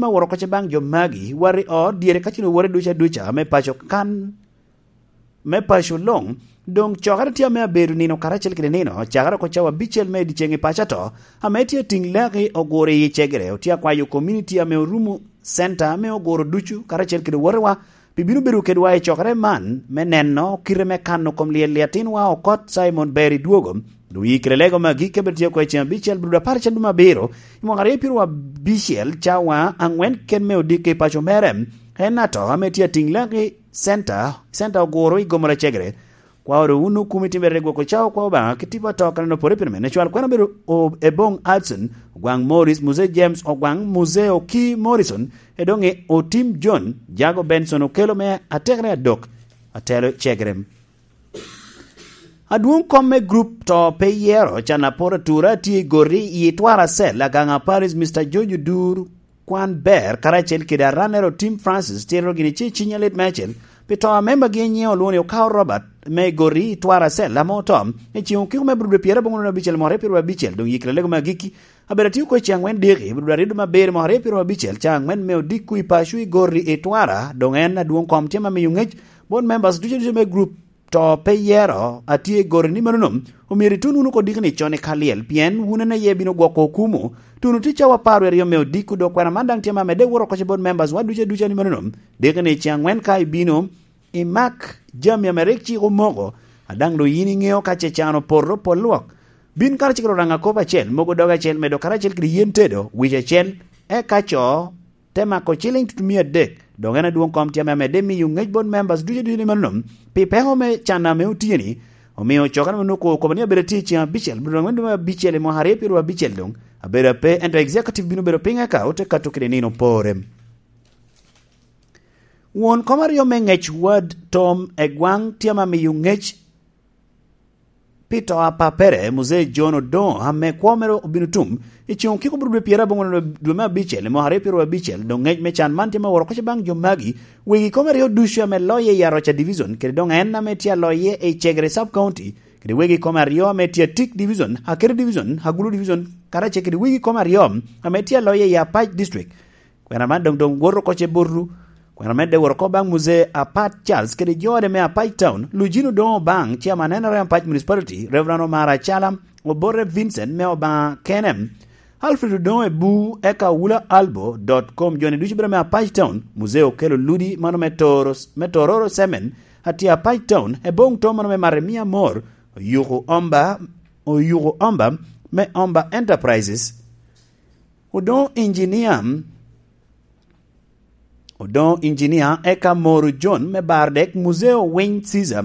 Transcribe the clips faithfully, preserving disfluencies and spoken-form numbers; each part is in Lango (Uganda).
me woro kocce baŋ jo magi, wati ot dyere ka cen owore duca duca me paco kan, me paco luŋ. Doŋ cokere tye ame abedo nino karacel kede nino, cakere oko cawa abicel me dyeceŋ i paco ato, ame tye atiŋ laki oguro i cegere, otye akwayo komuniti ame orumo center ame oguro ducu karacel kede owotewa, pi bino bedo kedwa i cokere man, me neno kite me kano kom lyel i atinwa okot Simon Berry dwogo. Doŋ yikere lego magi kebe tye oko i ceŋ abicel, brudo apar cen dum abiro, i mwaka aryo pyero abicel, cawa aŋwen ken me odiko i paco mere. En ato ame tye atiŋ laki center, center oguro i gomoro cegere. Kwa oro wun okumi timere gwoko cawa kwa Obaŋa ki tipo ato kaneno pore pire mene. Cwal kwena bedo o-, Ebong Hudson, Ogwaŋ Morris, Muse James Ogwaŋ, Muse Oki Morrison, edoŋe Otim John, Jago Benson Okelo me atekere adok, atelo cegere. Adwoŋ kom me group to pe yero, can apor atura tye i goti i Twara Cell, Agaŋa Paris, Mister George Odur, Kwan Ber, karacel kede aranero Tim Francis, tito gini ci cinya lit me acel, pi to a membagi nyiŋe olwoŋo ni Okawo Robert, me goti i Twara Cell, ame oto, i ceŋ okiko me Abril pyera aboŋo nino abicel mwaka aryo pyero abicel, doŋ yikere lego me agikki, abedo atio kwe ceŋ aŋwen diki, Abril aryo dum abiro mwaka aryo pyero abicel, ceŋ aŋwen me odiko i paco i goti i Twara, doŋ en adwoŋ kom tye ma miyo ŋec, bot members ducu ducu me group to pe yero, atye i goro ni manono, omyero itun wunu oko dikni con i ka lyel, pien wun en aye bino gwoko okumu. Tun otye cawa apar wie aryo me odiko, dok kwena man daŋ tye ma medde woro oko bot members wa ducu aduca ni manono. Dikni ceŋ aŋwen ka ibino, imak jami ame rik cik omoko, a daŋ doŋ yin iŋeo ka ce can opoto pol lwak. Bin karacel kede oraŋa kop acel, mogo doge acel, medo karacel kede yen tedo, wic acel, eka co te mako ciliŋ tutumia adek, dok en adwoŋ kom tye ame amedde miyo ŋec bot members ducu ducu ni manono, pi peko me can ame otye-ni, omio cokere me nuko okobo ni abedo atye i ceŋ abicel, bino dwaŋ me dwe me abicel i mwaka aryo pyero abicel doŋ, abedo ape, ento executive bino bedo piny eka ote kato kede nino pore. Won kom aryo me ŋec Wad Tom Egwaŋ tye ame miyo ŋec pi to a pappere, Muzee John Odoŋo, ame kwo mere obino tum, i ceŋ okiko bro dwe pyera aboŋo dwe me abicel, i mwaka aryo pyero abicel, doŋ ŋec me can man tye me woro kocce baŋ jo magi, wegi kome aryo ducu ame loye i Aroca Division, kede doŋ en ame tye aloye i Cegere Sub County, kede wegi kome aryo ame tye Atik Division, Akere Division, Agulu Division, karacel kede wegi kome aryo ame tye aloye i Apac District. Kwena man doŋ, doŋ woto oko ce botu. Kwena medde woro oko baŋ Muzee Apat Charles kede jo ode me Apac Town, Lujino Odoŋo Obaŋ, chairman N R M Apac Municipality, Reverend Omar Acala, Obote Vincent me Obaŋa kene, Alfred Odoŋo Ebu, eka Wula Albo dot com, joni ducu bedo me Apac Town, Muzee Okelo Ludi, mano me Toro, me Tororo Semen, atye Apac Town, Eboŋ Tom, mano me Maremia Amor, Oyuko Omba, Oyuko Omba, me Omba Enterprises, Odoŋo Engineer, Odoŋo Engineer, eka Moro John me Bardek, Muzeo Winy Caesar,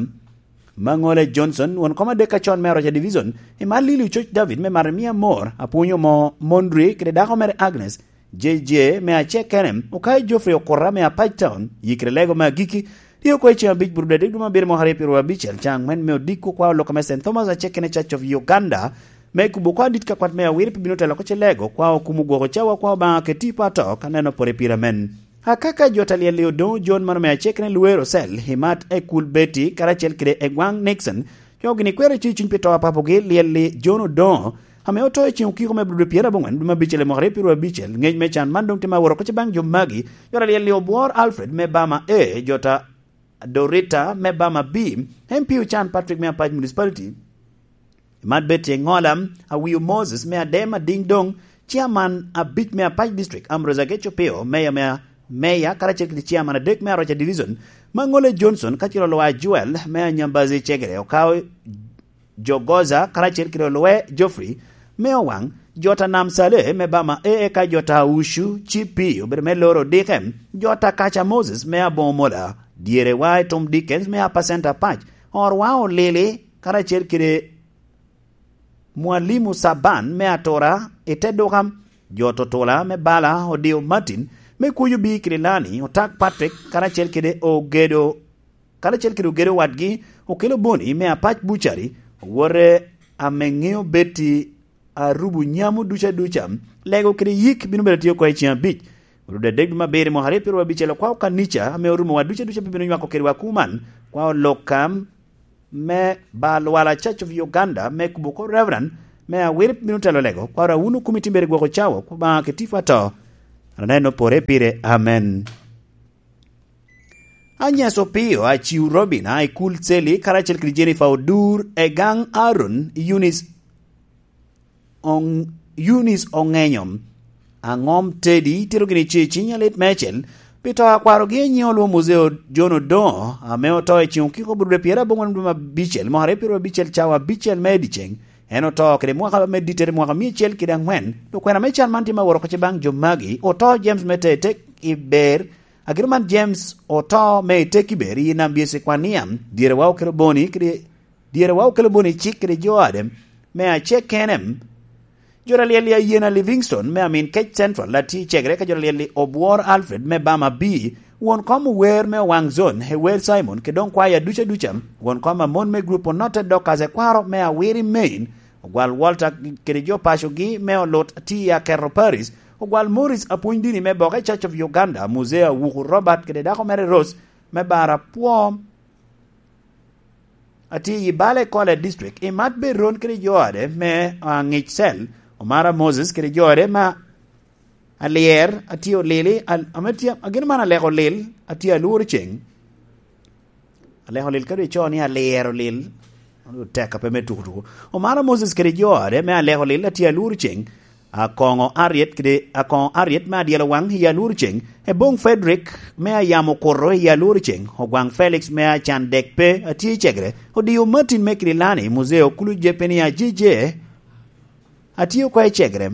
Maŋole Johnson, won kom adek acon me Aroca Division, i Malili Ococ David me Maremia Amor, Apwonyo Mo Mondri, kede dako mere Agnes, J J me Acekene, Okai Geoffrey Okura me Apac Town, yikere lego me agikki, tye oko i ceŋ abic bur dede dwe me abiro mwaka aryo pyero abicel, caŋ aŋwen me odiko kwa oloko me Saint Thomas Acekene Church of Uganda, me kubo kwa dit ka kwat me awiri pi bino telo oko ce lego, kwa okumo gwoko cawa kwa Obaŋa keti pa to, ka neno pore pire amen. Akaka jo ta lyel-li Odoŋo John mano me Acekene Luero Cell, Himat Ekul Betty, karacel kede Egwaŋ Nixon, jo gini kwero icuc cuny pi to a papogi lyel-li John Odoŋo, ame oto i ceŋ okiko me Abril pyera aboŋwen dwe me abicel i mwaka aryo pyero abicel. Ŋec me can man doŋ tye ma woro oko ce baŋ jo magi, jo ta lyel-li Obwor Alfred me Bama A, jo ta Dorita me Bama B, M P Ocan Patrick me Apac Municipality, Mat Betty Eŋola, Awio Moses me Adema Ding Dong, Chairman abic me Apac District, Ambrose Ageco Pio, Mayor me, Mayor, karacel kede Chairman adek me Aroca Division, Maŋole Johnson, kacel Olwa Joel me Anyambazi Cegere, Okawo Jogoza, karacel kede Olwe Geoffrey me Owaŋ, jo ta Nam Saleh me Bama A, eka jo ta Ushu, Chief P, obedo me loro odike, jo ta Kaca Moses me Aboŋo Mola, dyere wa i Tom Dickens me Apacenta Pac, Orwa Olili, karacel kede Mwalimu Saban me Atura i te duka, jo Totula me Bala, Odio Martin me Kuyo Bi Kirilani, Otak Patrick, karacel kede Ogedo, karacel kede Ogedo wadgi, Okelo Boni me Apac Bucari, owote ame ŋeo Betty Arubu Nyamo duca duca, lego kede yik bino bedo tye oko i ceŋ abic. Orudo adek dwe me abiro i mwaka aryo pyero abicel, okwao kanica ame orumo wa duca duca pe bino nywako kedwa kuman, kwao lok kam me Balwala Church of Uganda me kubo oko Reverend me Awiri bino telo lego, kwaro awuno kumi timbere gwoko cawo, Obaŋa keti pa to. Aneno pore pire. Amen. Anyes Opio, Aciu Robina, Ikul Seli, karacel kede Jennifer Odur, Egang Aaron, Eunice Ong-, Eunice Ongenyo, Angom Teddy, itito gini ce ciny alit mecel, pi to a kwarogi anyiŋ olwo Muzeo John Odoŋo, ame oto i ceŋ okiko burubde pyerabongwen dwe me abicel, mwaka aryo pyerabicel cawa abicel me ediceŋ. En oto kede mwaka me dittere mwaka mia acel kede angwen, dok kwena me can man tye ma woro oko ce baŋ jo magi, oto James me te tek i ber, Agiro man James oto me i tekki ber i Nambia Ecekwania, dyere wa okelo boni kede, dyere wa okelo boni cik kede jo ade me acek kene. Jo alyel i Ayena Livingstone me Amin Kec Central, Lati Cegre, ka jo alyel i Obwor Alfred me Bama B, won kom ower me Owaŋ Zone, Ewer Simon, kede doŋ kwaya duca duca, won kom amon me grup onotte dok kaze kwaro me Awiri Main, Ogwal Walter kede jo pacogi me olut tye i Aketo Paris, Ogwal Morris apwony dini me boke Church of Uganda, Muzea Wuku Robert kede dako mere Rose me Bara Pwo. Atye i Bale Kole District, i mat Beron kede jo ade me, ah, Ŋic Cel, Omara Moses kede jo ade ma Alyer, atye olili, al-, ame tye, agin man aleko lil, atye alworo ceŋ. Aleko lil, ka doŋ icoo ni alyer olil, tek ape me tuku tuku. Omara Moses kede jo ade me aleko lil, atye alworo ceŋ. Akoŋo Ariet kede, Akoŋo Ariet me adyelo waŋ i alworo ceŋ. Eboŋ Frederick me ayamo kuto i alworo ceŋ. Ogwaŋ Felix me acan dek pe, atye i Cegre. Odio Martin me Kililani, Muzeo Kulu Jepeni Ajije, atye oko i Cegre.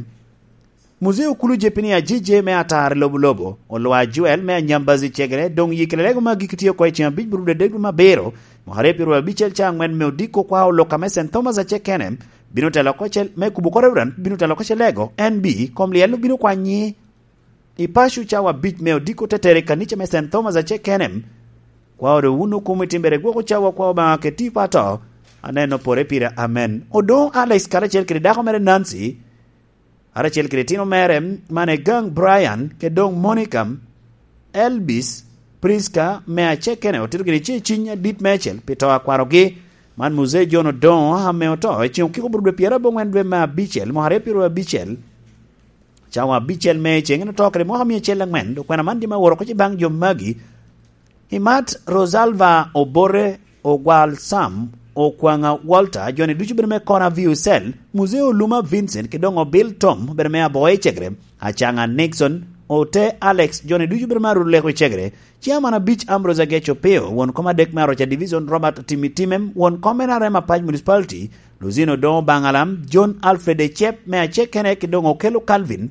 Muzeo Kulu Jepini Ajije me Atar i Lobo Lobo, Olwa Joel me Anyambazi Cegere, doŋ yikere lego me agikki tye oko i ceŋ abic burubdedek dwe me abiro, mwaka aryo pyeraryo abicel ca angwen me odiko kwa oloka me Saint Thomas Acekene, bino telo oko ce-, me kubo oko Reverend, bino telo oko ce lego, N B, kom lyel obino kwanyi i paco cawa abic me odiko tetere i kanica me Saint Thomas Acekene. Kwa ore wun okumo i timbere gwoko cawa kwa Obaŋa keti i pato, aneno pore pire, amen. Odoŋo Alex karacel kede dako mere Nancy, karacel kede itino mere, man Egang Brian, kede doŋ Monica, Elvis, Prisca, me Acekene, otito gini ce ciny adit meicel pi to a kwarogi. Man Muzee John Odoŋo, ame oto i ceŋ okiko bur dwe pyerabongwen dwe me abicel, mwaka aryo pyeraryo abicel. Cawa abicel me ceŋ en oto kede mwaka mia acel angwen, dok kwena man tye ma woro oko ce baŋ jo magi. Imat Rosalva Obote, Ogwal Sam, Okwaŋa Walter, joni ducu bedo me Kona Viu Cell, Muzee Oluma Vincent, kede doŋ Obil Tom, bedo me Aboya i Cegere, Acaŋa Nixon, Ote Alex, joni ducu bedo me Aruleko i Cegere, Ciaman abic Ambrose Agec Opio, won kom adek me Aroca Division Robert Timi Timem, won kom N R M Apac Municipality, Luzino Odoŋo Baŋalam, John Alfred Ecep me Acekene, kede doŋ Okello Calvin,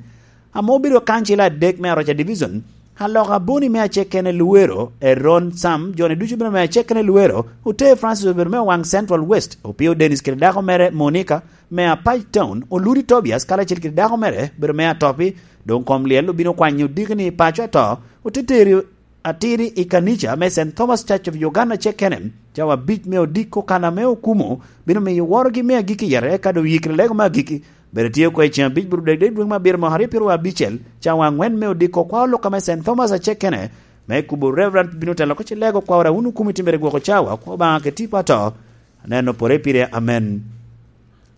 ame obedo kancila adek me Aroca Division, Aloka Boni me Acekene Luwero, Eron Sam, joni ducu bedo me Acekene Luwero, Ote Francis obedo me Owaŋ Central West, Opio Dennis kede dako mere Monica me Apac Town, Oludi Tobias karacel kede dako mere bedo me Atopi, doŋ kom lyel obino kwanyo diki ni paco ato, ote teri atiri i kanica me Saint Thomas Church of Uganda Acekene, cawa abic me odiko kan ame okumo bino miyo worogi me agikki yere, eka doŋ yikre lego me agikki, Bedo tye oko i ceŋ abic bur dek dek dweŋ me abiro mwaka aryo pyeraryo abicel, cawa angwen me odiko kwa oloka me Saint Thomas Acekene, me kubo Reverend bino telo oko ce lego kwa ora wun okumi timbere gwoko cawa, kwa Obaŋa keti pato. Aneno pore pire, amen.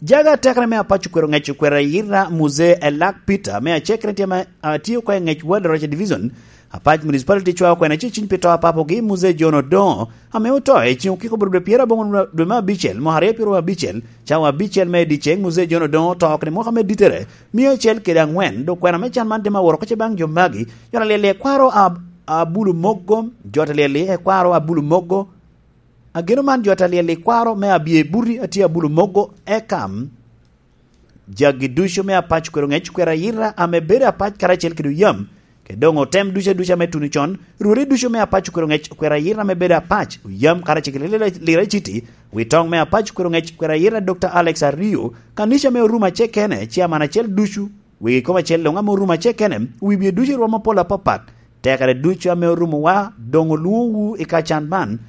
Jaga atekere me Apac Okwero Ŋec Okwero Ayira Muzee Elak Peter me Acekene tye ma, a, tye oko i Ŋec Ward Rocha Division, Apac Municipality cwao kwena ce ciny pi to a papogi, Muzee John Odoŋo, ame oto i ceŋ okiko bur dwe pyerabongwen dwe me abicel, mwaka aryo pyeraryo abicel, cawa abicel me ediceŋ, Muzee John Odoŋo oto kede mwaka me dittere, mia acel kede angwen, dok kwena me can man tye ma woro oko ce baŋ jo magi, jo alyel i kwaro Ab-, Abulu Mogo, jo alyel i kwaro Abulu Mogo, ageno man jo alyel i kwaro me Abye Buti atye Abulu Mogo, Ekam, Jagi ducu me Apac Okwero Ŋec Okwero Ayira ame bedo Apac karacel kede Oyam, kede doŋ otem ducu aduca me tuno con, rwodi ducu me Apac Okwero Ŋec Okwero Ayira ame bedo Apac, Oyam karacel kede Lira, Lira Citi, wi toŋ me Apac Okwero Ŋec Okwero Ayira Doctor Alex Ario, kanica me Orumo Acekene, ciaman acel ducu, wegi kom acel luŋ ame Orumo Acekene, wi bye ducu i rwom apol apapat, tekere ducu ame orumowa doŋ olwoŋowu i ka can man.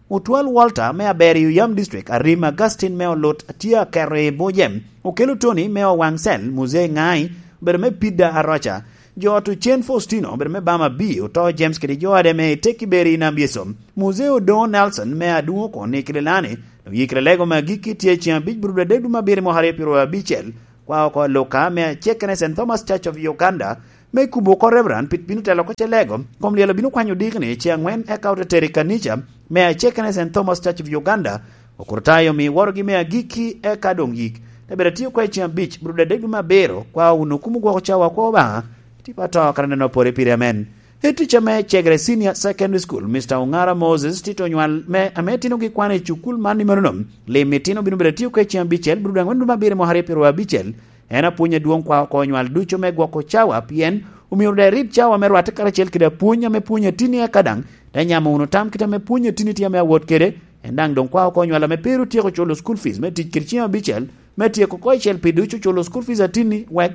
Otwal Walter me Aberio Yam District, Arim Augustine me Olut tye aketo i buce, Okello Tony me Owaŋ Cell, Muzee Ŋai, obedo me Pida Aroca, jo ot Ocen Faustino, obedo me Bama B, oto James kede jo ade me Tekki Beri i Nam Yecu, Muzee Odoŋo Nelson me Adwoŋ Okon i Kililani, oyikre lego me agikki tye ceŋ abic bur dwe adek dwe me abiro mwaka aryo pyeraryo abicel, kwa oko Luka me Acekene Saint Thomas Church of Uganda, me kubo oko Reverend Pit bino telo oko ce lego, kom lyel obino kwanyo dikni ce aŋwen eka ote tero i kanica me acekene Saint Thomas Church of Uganda, okurtayo mi worogi me agikki eka doŋ yik. Te bedo atio kwe ceŋ abic, bro dedek dwe me abiro, kwa wunu kumo gwoko cawa kwa Obaŋa, tipo ato kara neno pore pire amen. Etica me Cegre Senior Secondary School, Mister Ongara Moses, tito onywal me ame tinogi kwane i cukul man i menono. Lim itino bino bedo atio kwe ceŋ abicel, bro dwe aŋwen dwe me abiro mwaka aryo piro abicel, En apwony adwoŋ kwa oko onywal ducu me gwoko cawa, pien omyero daŋ irib cawa me rwatte karacel kede apwony ame pwonyo atini eka daŋ, te nyamo wunu tam kite ame pwonyo atini tye ame awot kede, en daŋ doŋ kwa oko onywal ame pe ru tyeko culo school fees me tic kede ceŋ abicel, me tyeko oko icel pi ducu culo school fees atini, wek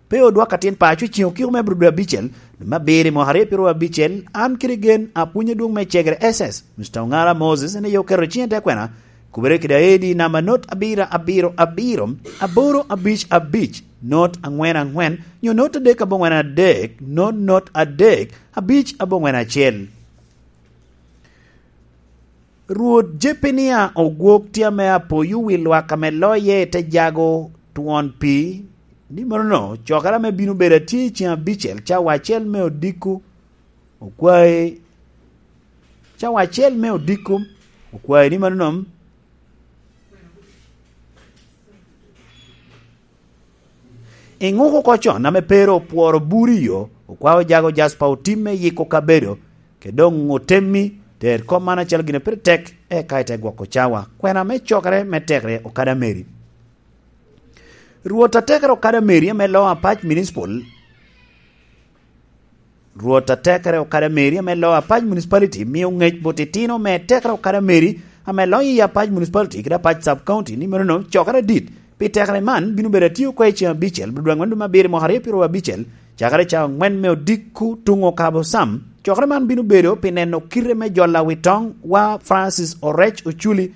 pe odwak atin paco i ceŋ okiko me abiro dwe abicel, dwe me abiro i mwaka aryo piro abicel, an kede gen apwony adwoŋ me Cegre S S, Mister Ongara Moses, en aye oketo ciŋe te kwena, Kubere kede aedi namba not abiro abiro abiro, aboro abic abic, not aŋwen aŋwen, nyo not adek aboŋwen adek, not not adek, abic aboŋwen acel. Rwot Jepenia ogwok tye ame apoyo wi lwak ame loye te jago twon pii, ni mano cokere ame bino bedo atye i ceŋ abicel cawa acel me odiko, okwae cawa acel me odiko, okwae ni mano nom. Iŋuko oko con ame Peero opworo buri yo, okwao jago jaspa otimme yiko kabedo, ke doŋ otemmi, ter kop man acalo gin a pire tek, eka ite gwoko cawa. Kwena me cokere me tekere okada meri. Rwot atekere okada meri ame loo apac municipal, Rwot atekere okada meri ame loo apac municipality mio ŋec bot itino me tekere okada meri ame loo i apac municipality kede apac sub county ni menono cokere adit pi tekere man bino bedo atio oko i ceŋ abicel, bro dwe aŋwen dwe me abiro i mwaka aryo piro abicel, cakere cawa aŋwen me odiko tuŋ okabo sam. Cokere man bino bedo pi neno kite me jolo awitoŋ wa Francis Orec Oculi,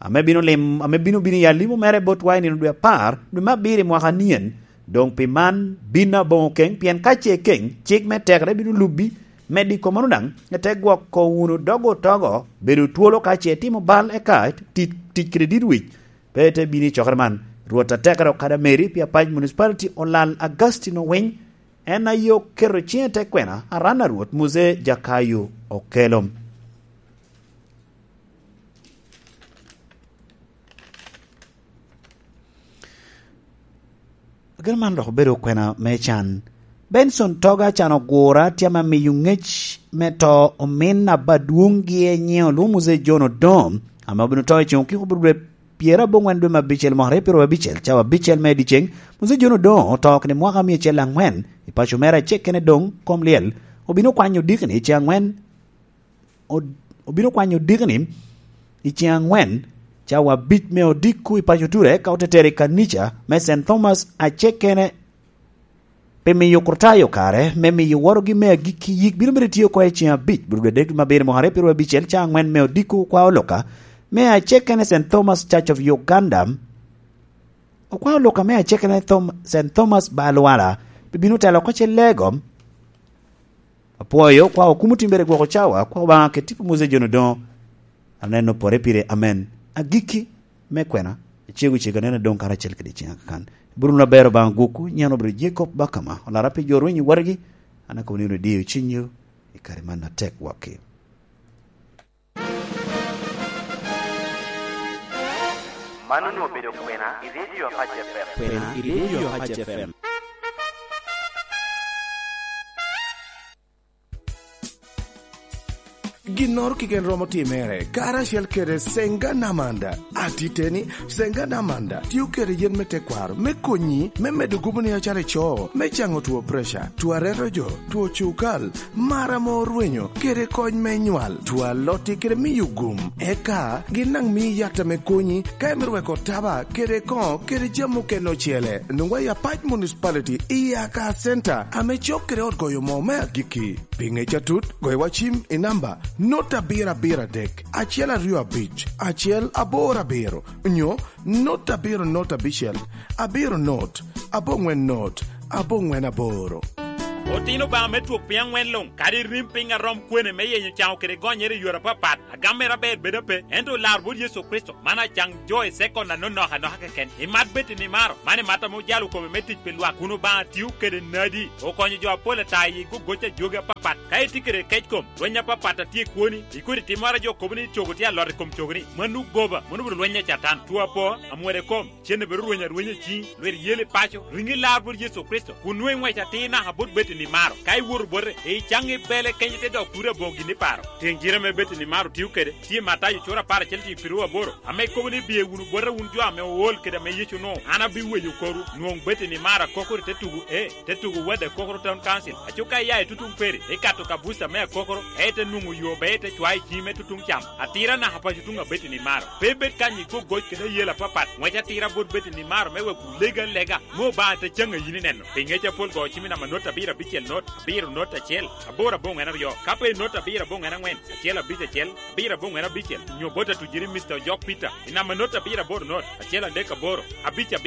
ame bino lim-, ame bino bino i alimo mere botwa i nino dwe apar, dwe me abiro i mwaka anien. Doŋ pi man, bin aboŋo keŋ, pien ka ce keŋ, cik me tekere bino lubbi, me diko mano daŋ, ite gwoko wunu dogo otogo, bedo twolo ka ce itimo bal eka tic, tic kede dit wic, pe ite bino i cokere man. Rwot atekere okada meri pi apac municipality olal Agustin Owiny, en aye oketo ciŋe te kwena, aran a Rwot Muse Jakayo Okello. Ageno man dok obedo kwena me can. Benson Toga can ogura tye ame miyo ŋec me to omin abadwoŋgi e nyiŋ olwoŋo Muzee John Odongo, ame obino to i ceŋ okiko bot dwe pyerabongwen dwe me abicel mwaka aryo piro abicel, cawa abicel me dyeceŋ. Muzee John Odongo oto kede mwaka mia acel aŋwen i paco mere acel kene doŋ kom lyel. Obino kwanyo dikni i ceŋ aŋwen od-, obino kwanyo dikni i ceŋ aŋwen, cawa abic me odiko i paco Ture, ka ote tero i kanica me Saint Thomas acel kene, pi miyo Kurtayo kare me miyo worogi me agikki yik bino bedo tye oko i ceŋ abic, bro dwe adek dwe me abiro mwaka aryo piro abicel, cawa aŋwen me odiko okwa oluka me acel kene Saint Thomas Church of Uganda, okwa oluka me acel kene Thom-, Saint Thomas Balwala, pi bino telo oko ce lego. Apwoyo kwa okumo timbere gwoko cawa, kwa Obaŋa kede tipo Muzee John Odongo. Aneno pore pire, amen. Agikki me kwena, icego cego aneno doŋ karacel kede ciŋa kakan. Iburu wunu aber Obaŋa gwokwu, nyen obiro Jacob Bakama, olara pi jo rwenyo watgi, an akobo ni wunu idiyo cinywu i kare man atek wakki. Man onwoŋo obedo kwena i redio Apac F M. Kwena i redio Apac F M. Ginnoro keken romo timere, karacel kede Senga Namanda. Atiteni, Senga Namanda tio kede yen me tekwaro me konyi me medo gubo ni acalo ico, me caŋo two preca, two areto jo, two cukal, mar ame orwenyo, kede kony me nywal. Two alotti kede miyo gum. Eka gin daŋ mii yat ame konyi ka imito weko taba kede koŋo kede jami okene ocele. Nwoŋwa i Apac Municipality i Aka Center ame cok kede ot goyo moo me agikki. Pi ŋec atut, goyo wa cim i namba not abiro abiro adek, acel aryo abic, acel aboro abiro, nyo not abiro not abicel, abiro not, aboŋwen not, aboŋwen aboro. Otino Obaŋa me twok piny aŋwen luŋ, kadi rim piny a rom kwene me yenyo caŋo kede gonyere i yore apapat, agam mere aber bedo ape, ento olar bot Yecu Kricito, man acaŋ jo i sekon anonok anoka keken. Imat Betty Nimaro, man imat ame ojalo kome me tic pi lwak, kun Obaŋa tio kede nadi, okonyo jo apol ata i gogoc a jogi apapat. Ka itye kede kec kom, lweny apapat a tye i kwoni, ikodi timmoro a jo kobo ni cogo tye alot i kom cogoni, mano goba, mano obedo lweny a Catan. Two apo, amwode kom, cen obedo rweny arwenya i ciŋi, lwit yel i paco, riŋi lar bot Yecu Kricito, kun nwoŋo iŋwec atir naka bot Betty Nimaro. Ka iwoto bote, icaŋ ibele kenyo ite dok turi aboŋo gin iparo. Teŋ gire ame Betty Nimaro tio kede, tye i Matayo cura apar acel tiŋ piru aboro, ame kobo ni, "Biye wunu bota wun jo ame ool kede ame Yecu onwoŋo, an abiweyo korwu." Nwoŋ Betty Nimaro akokoro i te tugo, e, te tugo Wade Akokoro Town Council. Aco ka iya i tutuŋ Peri, ikato ka buca me Akokoro, ka ite nwoŋo yo, be ite cwayo i ciŋi me tutuŋ cam. Atira naka paco tuŋ a Betty Nimaro. Pe ibed kany i gogoc kede ayela apapat. Ŋwec atira bot Betty Nimaro me wek wulege alega, me Obaŋa te caŋ a yin ineno. Pi ŋec apol go cim i namba not abiro abicel not, abiro not acel, aboro aboŋwen aryo. Ka pe i not abiro aboŋwen aŋwen, acel abic acel, abiro aboŋwen abicel, nyo bot atujiri Mister Ojok Peter, i namba not abiro aboro not, acel adek aboro, abic abiro.